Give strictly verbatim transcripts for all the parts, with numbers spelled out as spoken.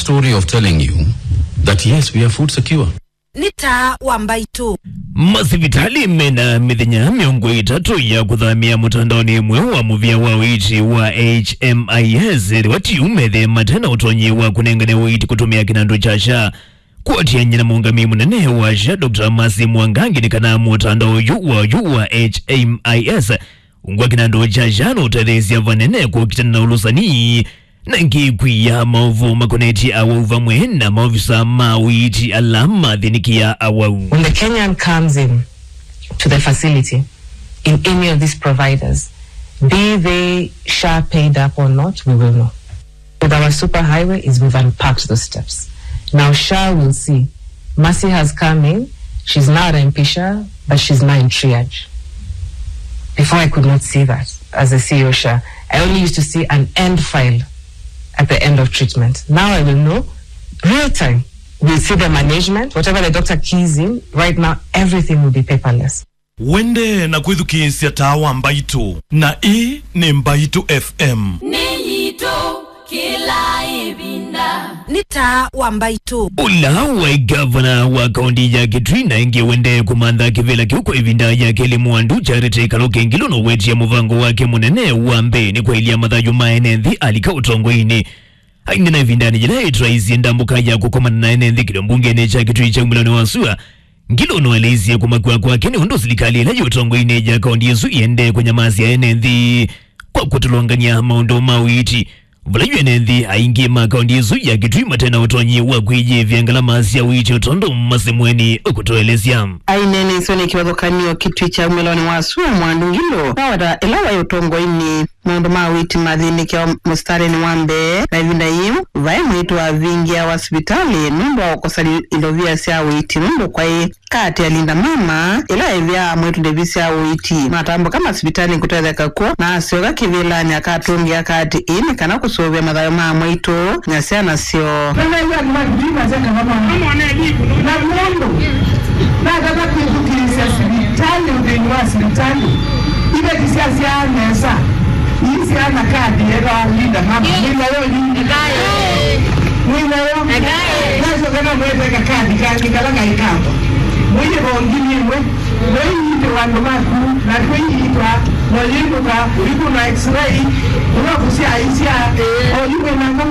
story of telling you that yes, we are food secure. Nĩ taa wa mbaitũ. Masivitalĩ mena mĩthenya mĩongo ĩtatũ ya kũthamĩa mũtandaonĩ ĩmwe wa mũvĩa wa ũiiti wa H M I S, ethĩwa ti ũu methĩe mate na ũtonyi wa kũnengane ũiiti kũtũmĩa kĩnandũ kya SHA. Kũatĩanĩa na mũũngamĩi mũnene wa SHA, Doctor Mercy Mwangangi, nĩ kana mũtandao ũyũ wa ũyũ wa H M I S ũngwa kĩnandũ kya SHA nũtetheesya vanene kũkitana na ũlũsani na ĩngĩ kwia maũvoo makonetye awau vamwe na maovisa ma ũiiti ala mathĩnĩkĩa awau. When the Kenyan comes in to the facility in any of these providers, be they SHA paid up or not, we will know. With our superhighway is we've unpacked those steps. Now SHA will see. Mercy has come in. She's now at M P SHA, but she's now in triage. Before I could not see that as a C E O SHA. I only used to see an end file at the end of treatment. Now I will know real time. We'll see the management. Whatever the doctor keys in, right now everything will be paperless. Wende na kwĩthukĩĩsya taa wa mbaitũ, na ĩĩ nĩ Mbaitũ F M. Nĩ yitũ kĩla ĩvinda. Nĩ taa wa mbaitũ. Ũla waĩ ngavana wa kaunti ya Kitui na ĩngĩ wende kũmantha kĩvĩla kĩu kwa ĩvinda ya kelĩ, Mwandu Charity Kaluki Ngilu nũwetie mũvango wake mũnene wa mbee nĩ kwaĩlya mathayũ ma ene nthĩ alika ũtongoinĩ. Aingĩ na ĩvindanĩ yĩla ĩtwaisye ndambũka ya kũkomana na ene nthĩ kĩlio mbungenĩ kya Kitui kya umĩlonĩ wa sua, Ngilu nũeleisye kũmakw'a kwake nĩ ũndũ silikalĩ ĩla yĩ ũtongoinĩ ya kaunti ĩsu ĩendee kũnyamasya ene nthĩ kwa kũtũlongany'a maũndũ ma ũiiti. Vala yu ene nthĩ aingĩ ma kaunti ĩsu ya Kitui mate na ũtonyi wa kwĩyĩĩvya ngalama sya ũiiti o tondũ Mercy Mweni ũkũtũelesya. Aineeneisye nĩ kĩvathũkany'o Kitui kya umĩlonĩ wa sua, Mwandu Ngilu naweta ĩla waĩ ũtongoinĩ maũndũ ma ũiiti mathĩnĩkĩawa mũsitalĩnĩ wa mbee, na ĩvinda yĩu vaĩ mwĩĩtu wavingĩawa sivitalĩ nũndũ wa kũkosa li-, ilovia sya ũiiti nũndũ kwaĩ kaati ya Linda Mama ĩla ĩvĩaa mwĩĩtu ndevi sya ũiiti. Matambũka masivitalĩ kũtetheka kw'o na asyoka kĩvĩlanĩ akatũngĩa kaati ĩĩ nĩ kana kũsũvĩa mathayũ ma mwĩĩtu na syana syoo. Nĩnaĩw'a andũ ma Kitui masya kana mwana. Na mũndũ natata kwĩthukĩĩsya sivitalĩ, ũthĩni wa sivitalĩ, iveti syasyaa nesa, ii syana kadi ĩtawa Linda Mama. Mwĩ nayo yu? Mwĩ nayo? Nasyoka namweteka kadi kangĩ kala kaĩ kakwa. Mũiĩva o ngili ĩmwe. Wĩiitĩwa andũ maku, na twĩiitwa, na ũyĩmbũka, ũikũnwa x-ray, ũla kũsyaisya, oyu wĩ nako.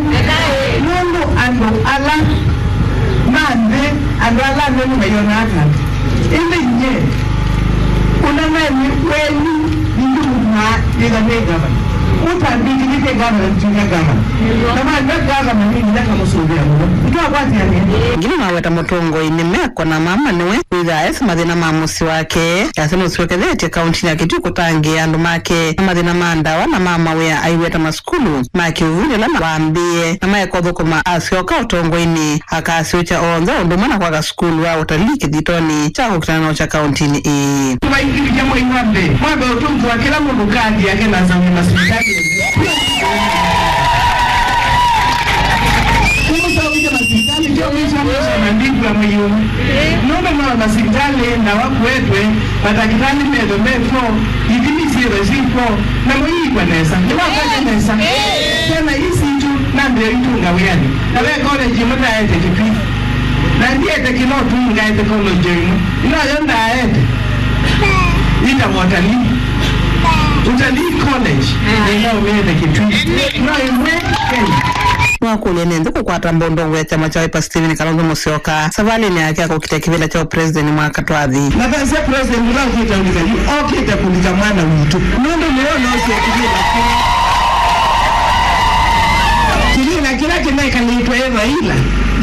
Nũndũ andũ ala ma nthĩ, andũ ala anene mayonaa kandũ. Ĩndĩ nyie, ũla naĩ wenyu, nĩndĩmũtũmaa yĩtha nĩ ngavana. Ũtambĩkĩlĩte ngavana, nĩtwĩka ngavana. Na maĩva ngavana, nĩ nginya kamũsũvĩa mũno. Nĩtwakwatĩanĩa. Ngilu naweta mũtũngoi nĩ meko na mama nĩwe wĩthaa esa mathĩna ma mũsyĩ wake. Yasya nũsyokethetye kaunti ya Kitui kũtangĩĩa andũ make na mathĩna ma ndawa na ma mawĩa aiweta masukulu ma kĩũvundĩ ala wambĩĩe na maeka ũthũkũma asyoka ũtongoinĩ. Akasyũkya onthe ũndũ ũmwe na kwaka sukulu wa ũtalii kĩthitonĩ kya kũkitana na ũkya kauntinĩ ĩĩ. Tũvaingĩvya mwei wa mbee, mwambe ũtũngĩwa kĩla mũndũ kaadi yake na asaũe masivitalĩ. Kũmũsaũisya masivitalĩ, kyo mwisho mwisho na ndikua mwei ũmwe. Nũndũ no masivitalĩ ndawa kũetwe, matakĩtalĩ methwe mekw'o, ithimi syĩthwe syĩkw'o, na mũiikwa nesa. Nĩwakwete nesa. Syana ii sitũ, nambĩĩa itũnga wĩanĩ. Na ve college ĩmwe ndaete Kitui. Na ndiete kĩno tu ngaete college ĩmwe. Ĩnoyo ndaete. Ĩtawa Utalii. Utalii College. Nĩnaũmĩete Kitui. No ĩmwe Kenya. Nĩwakũlya ene nthĩ kũkwata mbondongo ya kyama kya Wiper Stephen Kalonzo Musyoka savalĩnĩ yake ya kũkita kĩvĩla kya ũpresident mwaka twathi. Na thasya president ũla ũkĩte ũlika yu, okĩte kũlika mwana witũ. Nũndũ nĩwe ũnaosya kĩvĩla kĩu. Kĩvĩla kĩla kĩnekalĩtwe ĩ Raila,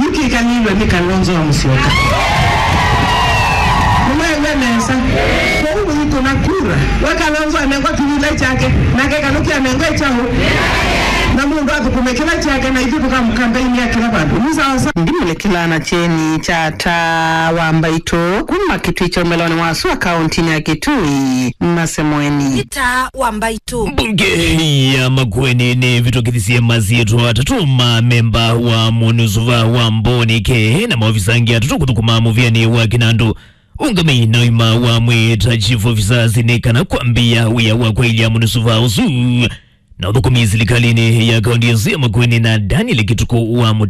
yu kĩkalĩlwe nĩ Kalonzo wa Musyoka. Nĩmwaĩw'a nesa? Kwoou mũikũna kura, we Kalonzo anengwa kĩvĩla kyake, nake Kaluki anengwe kyaũ? Na mũndũ athũkũme kĩla kyake, na ithyĩ tũkamũkambeini ya kĩla vandũ. Nĩ sawa sawa. Ndimũlĩkĩla na kyeni kya taa wa mbaitũ kuma Kitui kya ũmelonĩ wa sua kauntinĩ ya Kitui, Masemweni. Nĩ taa wa mbaitũ. Mbunge ya Makueni nĩvĩtũkĩthisye masyĩtwa atatũ ma memba wa mũnĩsuva wa Mboni Kĩĩ na maovisa angĩ atatũ kũthũkũma mũvĩanĩ wa kĩnandũ ũngamĩi na ũima wa mwĩĩ ta chief officers nĩ kana kwambĩĩa wĩa wa kwaĩlya mũnĩsuva ũsu na ũthũkũmi silikalĩnĩ ya kaunti ĩsu ya Makueni na Daniel Kĩtukũ wa Mũtĩ.